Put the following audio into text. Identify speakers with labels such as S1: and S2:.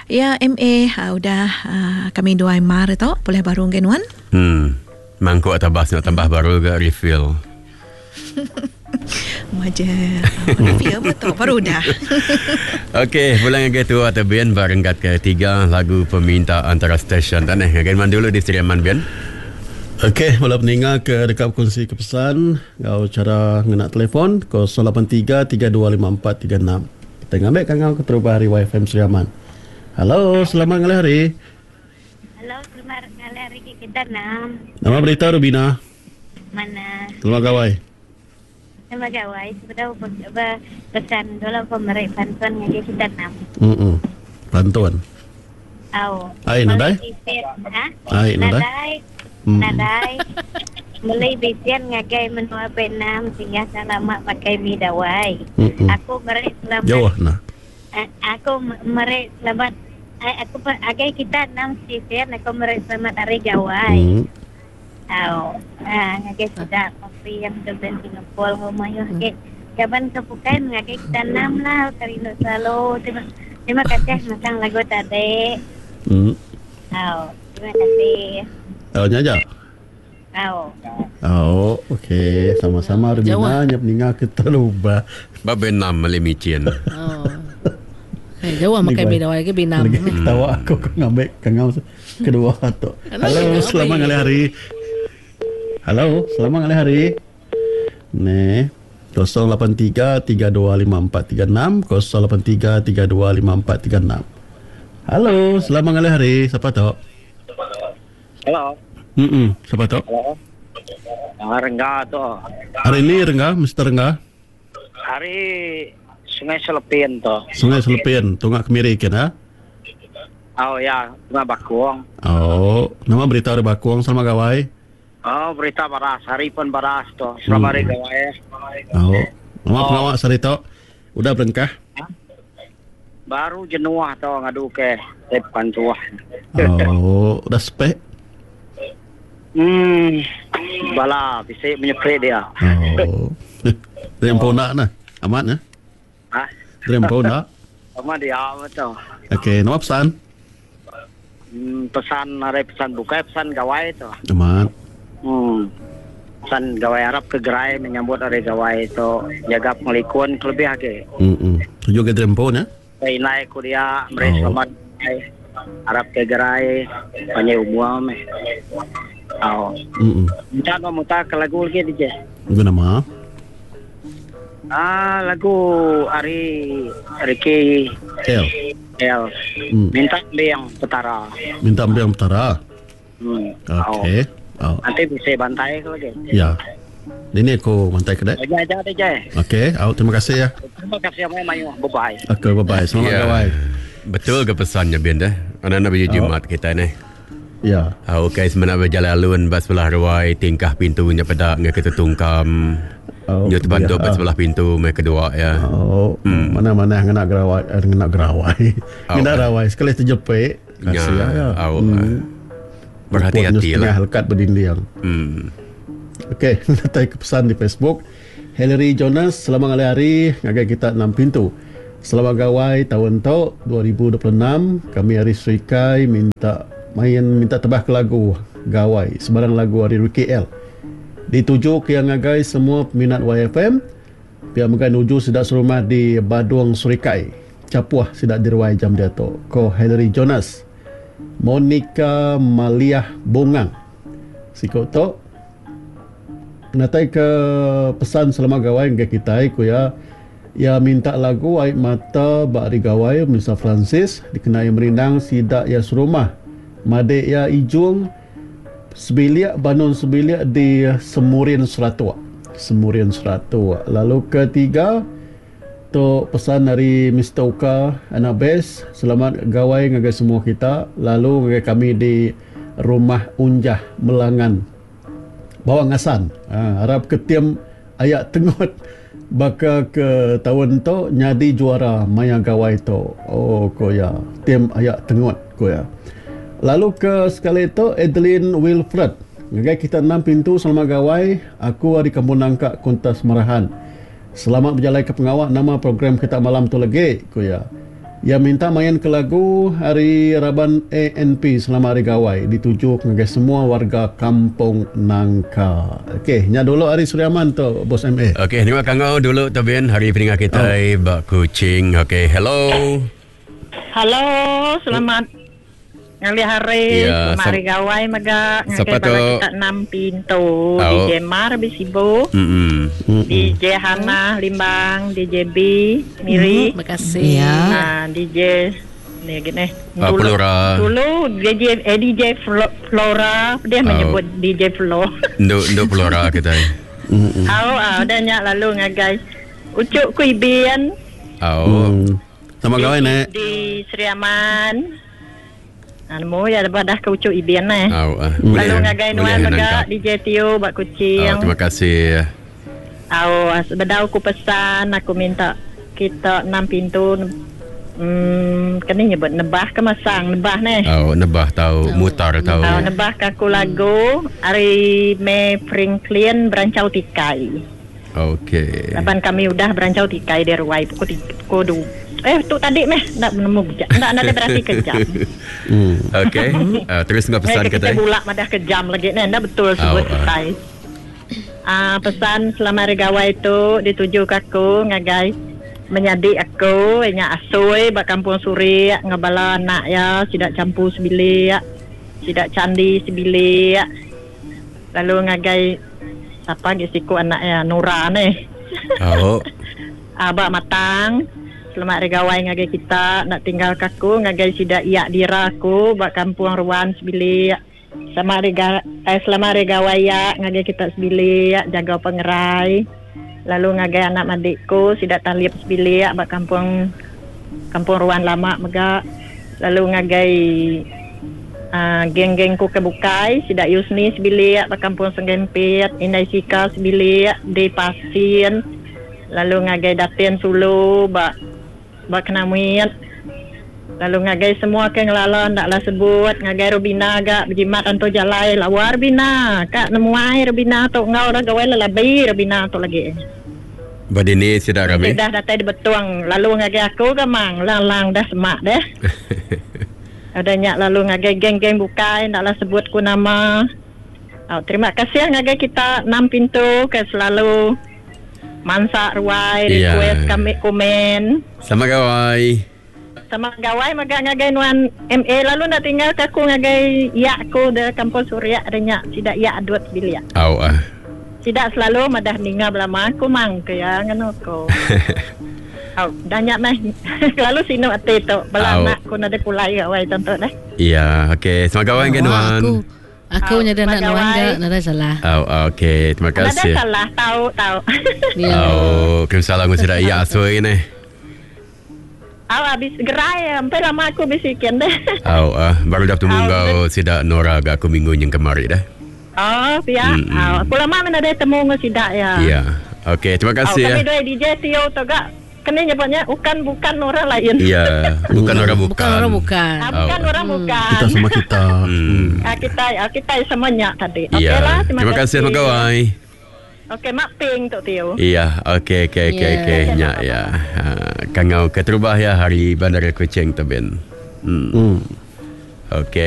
S1: Ya MA udah kami duai mar tu pulih baru enggai nuan.
S2: Hmm. Mangkuk tabas nya tambah baru ga refill.
S1: Maja refill betul baru udah.
S2: Okey, pulang ngagai tua tu Ben ba renggat ke tiga lagu peminta antara stesen tu neh. Ngagai nuan dulu di Sri Aman Ben.
S3: Okey, bala peninga ke deka bekunsi ke pesan enggau chara ngena telefon 083 3254 36. Kita ngambi kangau keterubah ari YFM Sri Aman. Hello, selamat ngalih hari.
S4: Hello, selamat ngalih hari ke kita nam.
S3: Nama berita Rubina?
S4: Mana?
S3: Selamat gawai.
S4: Selamat gawai. Sebedau pesan dulu pemeri pantun ngagai kita nam.
S3: Hmm. Pantun.
S4: Au.
S3: Ai nadai?
S4: Ha?
S3: Ai nadai.
S4: Nadai. Nadai. Meli bisian ngagai menua Vietnam singgah lama makai mi dawai. Aku meri selamat.
S3: Jauh nah.
S4: Aku meri selamat aku agai kita enam stesen aku meri selamat hari gawai. Au ngagai sida kopi yang ke ben Singapore enggau mayuh agi kaban ke bukai ngagai kita enam lah rindu selalu terima terima kasih masang lagu tadi. Au terima kasih.
S3: Au nya aja.
S4: Au.
S3: Au, okey. Sama-sama Rubina nya peninga ke terubah.
S2: Ba Vietnam meli micin.
S5: Oh. Eh, jauh makai mi dawai ke Vietnam.
S3: Lagi ketawa aku ke ngambil kangau kedua tu. Halo, selamat ngalih hari. Halo, selamat ngalih hari. Neh. 083 325436 083 325436. Halo, selamat ngalih hari. Siapa tu?
S6: Hello.
S3: Hmm, siapa tu?
S6: Hello. Ah, Rengga tu.
S3: Hari ni Rengga, Mr. Rengga.
S6: Hari Sungai Selepin tu.
S3: Sungai Selepin, tunga kemiri kin ha?
S6: Oh ya, tunga Bakung.
S3: Oh, nama berita ari Bakung selamat gawai?
S6: Oh, berita baras, hari pun baras tu. Selamat hari gawai.
S3: Oh, nama oh. pengawa sehari tu? Udah berengkah?
S6: Ha? Baru jenuh tu ngadu ke tep pantuh.
S3: Oh, udah spek?
S6: Hmm, bala bisi menyepit dia.
S3: Oh. Dia empu nak nah. Amat nah.
S6: Ha?
S3: Dia empu nak.
S6: Amat dia betul.
S3: Okey, nama pesan?
S6: Hmm, pesan hari pesan bukai pesan gawai tu.
S3: Amat.
S6: Hmm. Pesan gawai harap ke gerai menyambut hari gawai tu jaga pengelikun kelebih agi.
S3: Hmm. Tuju ke diri empu nya.
S6: Indai ku dia meri
S3: Oh.
S6: selamat gawai. Arap ke gerai panjai umur meh. Au. Minta nuan mutar ke lagu lagi DJ.
S3: Lagu nama?
S6: Ah lagu ari Ricky
S3: L.
S6: L. Minta embing Petara.
S3: Minta embing Petara.
S6: Hmm.
S3: Okey. Oh.
S6: Nanti bisa bantai ke lagi.
S3: Ya. Dini aku bantai ke dek.
S6: Aja aja DJ.
S3: Okey, au terima kasih ya.
S6: Terima kasih amai mayuh. Bye bye.
S3: Okey, bye bye. Selamat
S2: Ya.
S3: gawai.
S2: Betul ke pesannya Ben dah? Anak-anak baju jimat kita ni.
S3: Ya.
S2: Ah, okey, semenak berjalan alun ba sebelah ruai tingkah pintunya peda ngai ke tetungkam.
S3: Oh,
S2: Nyu terbantu
S3: ya.
S2: ba sebelah pintu mai kedua ya.
S3: Oh, mana-mana ngena gerawai, eh, ngena gerawai.
S2: Au.
S3: Ngena rawai sekali terjepit. Kasih
S2: Ya,
S3: ya.
S2: au. Berhati-hati
S3: Setengah
S2: lah.
S3: lekat berdinding. Okey, datai ke pesan di Facebook. Hillary Jonas, selamat ngalih hari ngagai kita enam pintu. Selamat gawai tahun tu 2026. Kami ari Serikai minta main minta tebah ke lagu gawai sebarang lagu ari Ricky L. Dituju ke yang ngagai semua peminat YFM. Pia mega nuju sida serumah di Badung Serikai. Capuah sida diruai jam diatu. Ko Hillary Jonas. Monica Maliah Bungang. Siku tu natai ke pesan selamat gawai ngagai kitai ku iya iya minta lagu ai mata ba ari gawai Melissa Francis dikena iya merindang sida iya serumah madik iya Ijung sebilik Banun sebilik di Semurin Seratok Semurin Seratok lalu ketiga tu pesan ari Mister Uka anak Bes selamat gawai ngagai semua kita lalu ngagai kami di Rumah Unjah Melangan Bawang Asan. Ha, arap ke tim aya tengut baka ke taun tu nyadi juara maya gawai tu. Oh ko iya, tim aya tengut ko iya. Lalu ke sekali tu Adeline Wilfred ngagai kita enam pintu selamat gawai aku ari Kampung Nangka Kuntas Merahan. Selamat bejalai ke pengawa nama program kita malam tu legi ko iya. Iya minta main ke lagu ari raban ANP Selamat Hari Gawai dituju ngagai semua warga Kampung Nangka. Okey, nya dulu ari Sri Aman tu bos MA.
S2: Okey, terima kangau dulu tu bin hari peninga kitai oh. ba Kuching. Okey, hello.
S7: Hello, selamat ngalih hari, ya, selamat hari gawai mega ngagai bala kita enam pintu oh. DJ Mar di Sibu. Mm-hmm. DJ Hana Limbang, DJ B Miri.
S5: Terima kasih.
S7: Ya. Uh, DJ ni lagi ni.
S2: Ah,
S7: Dulu,
S2: Flora.
S7: dulu DJ eh, DJ Flora dia
S2: Oh.
S7: menyebut DJ Flo.
S2: Nduk nduk Flora kita.
S7: Au ah dah nyak lalu ngagai Ucuk ku Ibin
S2: Au.
S3: Sama gawai nek.
S7: di Sri Aman. Ah, nemu ya lepas dah ke Ucuk Ibin eh.
S2: Au. ah.
S7: Lalu ngagai
S2: boleh
S7: nuan mega
S2: nangkap.
S7: DJ Tio bak Kuching.
S2: Au, terima kasih.
S7: Au, bedau aku pesan aku minta kita enam pintu hmm, kena nyebut nebah ke masang nebah ni.
S2: Au, nebah tau, mutar tau.
S7: Au nebah ke aku lagu ari May Franklin Berancau Tikai.
S2: Okey.
S7: Laban kami udah berancau tikai di ruai pukul tiga, pukul dua. Eh tu tadi meh ndak menemu jam. Ndak ndak berarti ke jam.
S2: Okey. Terus enggak pesan
S7: Eh, kita
S2: kita.
S7: bulak madah ke jam lagi ni ndak betul sebut
S2: Au, ah.
S7: kitai. Ah pesan selama hari gawai tu dituju ke aku ngagai menyadi aku nya asui ba kampung Surik ngabala anak ya sidak campur sebilik sidak candi sebilik lalu ngagai siapa lagi siku anak ya Nura ni
S2: Au.
S7: Abak matang Selamat hari gawai ngagai kita Nak tinggal kaku ngagai sidak iak dira aku Bak kampung Ruan sebilik Selamat hari, ga, eh, selamat hari gawai ya ngagai kita sebilik Jaga pengerai Lalu ngagai anak madikku Sidak talip sebilik Bak kampung Kampung Ruan lama mega Lalu ngagai uh, geng-geng ku ke bukai Sidak Yusni sebilik Bak kampung Senggempit Indai Sika sebilik Di Pasin Lalu ngagai Datin Sulu bak bak Kenamit. Lalu ngagai semua ke ngelala ndaklah sebut ngagai Rubina gak berjimat anto jalai lawa Rubina kak nemuai Rubina tu ngau dah gawai lelabi Rubina tu lagi.
S2: Badini sidak rami.
S7: Dah datai di betuang lalu ngagai aku ke mang lang-lang dah semak deh. Ada nyak lalu ngagai geng-geng bukai ndaklah sebut ku nama. Oh, terima kasih ngagai kita enam pintu ke selalu mansak ruai
S2: Ya.
S7: request kami komen.
S2: Selamat gawai.
S7: Sama gawai maga ngagai nuan MA lalu nak tinggal ke aku ngagai ya aku de kampung Suria ada nyak sidak ya adut bilik.
S2: Au ah.
S7: Sidak selalu madah ninga belama aku mang ke ya ngeno ko. Au, dah nyak meh. Lalu sino ati tu bala
S2: Au.
S7: anak ku nada pulai gawai tonton dah.
S2: Ya, okey. Selamat gawai ke
S5: Wah,
S2: nuan.
S5: Aku aku
S7: Au,
S5: nyada nak
S7: selamat
S5: nuan
S7: gawai.
S5: gak nada salah.
S2: Au, okey. Terima
S7: Nada
S2: kasih.
S7: salah tahu tahu.
S5: Ya.
S2: Au, kirim salam ke sidak ya asui ni.
S7: Au habis gerai sampai lama aku bisikin deh.
S2: Au, ah, baru dah bertemu
S7: Au,
S2: kau sidak Nora agak aku minggu yang kemari dah.
S7: Oh, pihak. Au, aku lama mana ada temu dengan sidak ya.
S2: Ya. Okey, terima
S7: Au,
S2: kasih ya.
S7: kami dua DJ Tio tu gak kena nyebutnya bukan bukan orang lain.
S2: Ya, bukan orang bukan.
S5: Bukan orang bukan.
S7: Ah, bukan
S2: Au.
S7: orang bukan.
S3: Kita sama kita.
S2: Hmm.
S7: Ah, kita ah, kita semuanya tadi. Okey
S2: Ya.
S7: lah, terima,
S2: Terima kasih
S7: kasih.
S2: Mak Gawai.
S7: Okey, mak ping tu Tio.
S2: Iya, okey okey okey
S5: Ya.
S2: okey. Nya ya. Ha, kangau keterubah ya hari Bandar Kuching tu Ben. Hmm.
S3: Hmm.
S2: Okey.